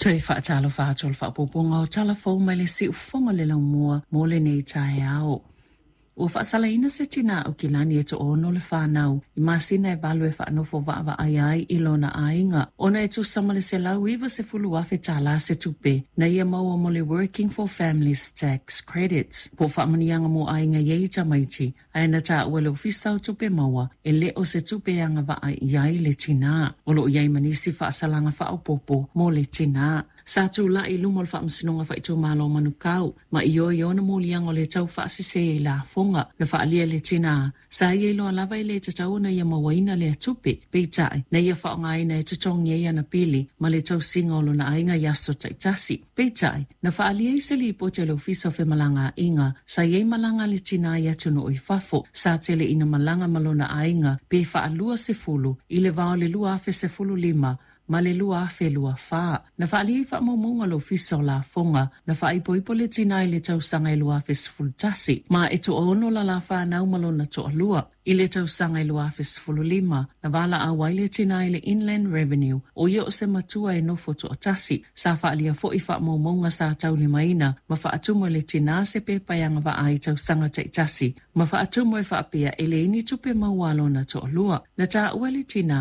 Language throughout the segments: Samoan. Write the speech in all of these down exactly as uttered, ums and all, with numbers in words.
Toe faatalofa atu o le faapuapuaga o tala fou mai le siufofoga le laumua mo lenei taeao. Ua faasalaina se tinā Aukilani e toaono le fanau i masina e valu e faanofo vaavaaia ai i lona aiga ona e tusa ma le selau iva sefulu afe tālā se tupe na ia maua mo le Working for Families Tax Credits po o faamanuiaga mo aiga e i ai tamaiti ae na taua e le Ofisa o Tupe Maua e le o se tupe e agavaa i ai le tinā. O lo o i ai ma nisi faasalaga faaopoopo mo le tinā. Sa tulai i luma o le Faamasinoga Faaitumalo o Manukau ma ioe i ona moliaga o le taufaasese i lafoga na faaalia e le tinā sa ia iloa lava e le tatau ona ia mauaina lea tupe. Peitai, na ia faaaogaina e totogi ai ana pili ma le tausiga o lona aiga i aso taitasi. Peitai, na faaalia i se lipoti a le Ofisa o Femalagaaiga sa i ai malaga a le tinā i atunuu i fafo sa tele ina malaga ma lona aiga pe faalua sefulu i le va o le lua afe sefulu lima ma le lua afe lua fa. Na faaalia i faamaumauga a le Ofisa o Lafoga na faaipoipo le tinā i le tausaga e lua afe sefulu tasi ma e toaono lala fanau ma lona toalua. I le tausaga e lua afe sefulu lima, na valaau ai le tinā i le Inland Revenue o ia o se matua e nofo toatasi. Sa faaalia foi faamaumauga sa taulimaina ma faatumu e le tinā se pepa e agavaa ai i tausaga taitasi ma faatumu e faapea e leai ni tupe maua a lona toalua. Na taua e le tinā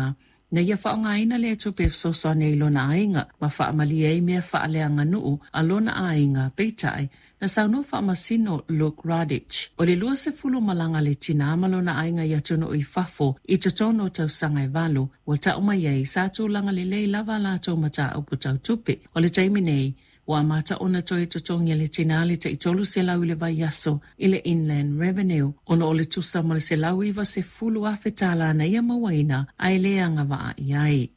na ia faaaogaina lea tupe e fesoasoani ai i lona aiga ma faamalie ai mea faaleaganuu a lona aiga. Peitai, na saunoa Faamasino Luke Radich, o le lua sefulu o malaga a le tinā ma lona aiga i atunuu i fafo i totonu o tausaga e valu, ua tau mai ai sa tulaga lelei lava a latou mataupu tau tupe. O le taimi nei, ua amata ona toe totogi e le tinā le tai tolu selau i le vaiaso i le Inland Revenue ona o le tusa ma le selau iva sefulu afe tālā na ia mauaina ae le agavaa i ai.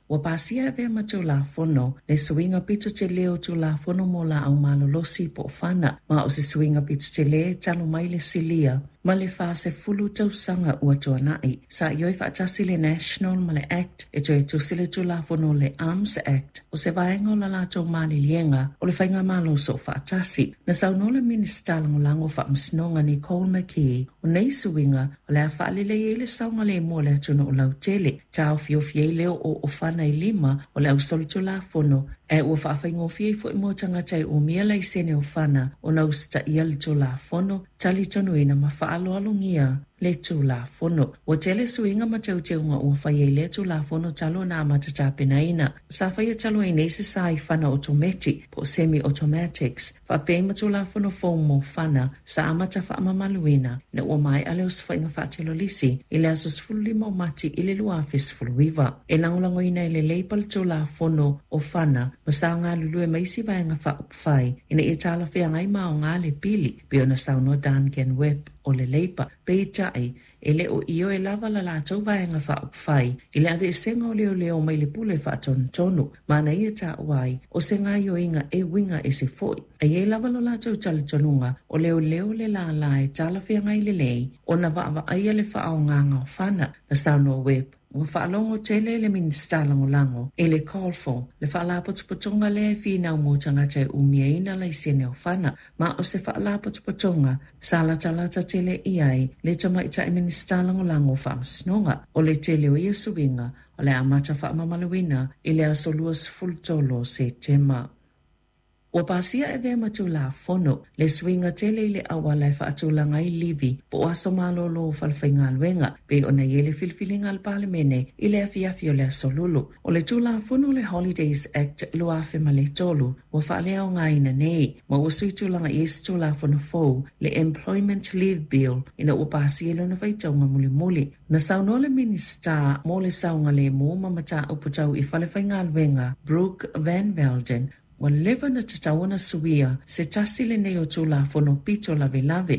Ua pasia e avea ma Tulafono le suiga pito tele o Tulafono mo Laau Malolosi po o Fana, ma o se suiga pito tele talu mai le silia ma le fa-sefulu tausaga ua tuanai. Sa ioe faatasi le National ma le Act e toe tusi le Tulafono le Arms Act o se vaega o la latou maliliega o le Faigamalo Soofaatasi. Na saunoa le Minisita Lagolago o Faamasinoga Nicole McKee o nei suiga o le a faalelei ai le saogalemu o le atunuu lautele, taofiofi ai le oo o fana i lima o le ausolitulafono ae ua faafaigofie ai foi mo tagata e umia laisene o fana ona usitaia le Tulafono, talitonuina ma faaaloalogia le Tulafono. Ua tele suiga ma teuteuga ua faia i lea Tulafono talu ona amata tapenaina. Sa faia talu ai nei se sa i fana otometi po o semi-automatics, faapea ai ma Tulafono fou mo fana sa amata faamamaluina ina ua maea le osofaiga faatelolisi i le aso sefulu lima o Mati i le lua afe sefulu iva. E lagolagoina e le Labour le Tulafono o Fana ma sa galulue ma isi vaega faaupufai ina ia talafeagai ma aoga le pili, pei ona saunoa Duncan Webb o le Labour. Peitai, e le o ioe lava la latou vaega faaupufai i le aveesega o leoleo mai le pule faatonutonu ma na ia taua ai o se gaoioiga e uiga ese foi. E i ai lava lo latou talitonuga o leoleo le lālā e talafeagai lelei ona vaavaaia le faaaogaga o fana, na saunoa Webb. Ua faalogo tele le Minisita Lagolago i le CALL four, le faalapotopotoga lea e finau mo tagata e umiaina laisene o fana, ma o se faalapotopotoga sa latalata tele i ai le tamaitai Minisita Lagolago o Faamasinoga. O le tele o ia suiga o le a amata faamamaluina i le aso luasefulu tolu o Setema. Ua pasia e avea ma Tulafono le suiga tele i le auala e faatulaga ai livi po o aso malolo o falefaigaluega pei ona i ai le filifiliga a le Palemene i le afiafi o le aso Lulu. O le Tulafono le Holidays Act lua afe ma le tolu ua faaleaogaina nei ma ua sui tulaga i ai se Tulafono fou le Employment Leave Bill ina ua pasia i lona faitauga mulimuli. Na saunoa le Minisita mo le Saogalemu ma Mataupu Tau i Falefaigaluega Brooke Van Velden ua leva ona tatau ona suia se tasi lenei o Tulafono pito lavelave.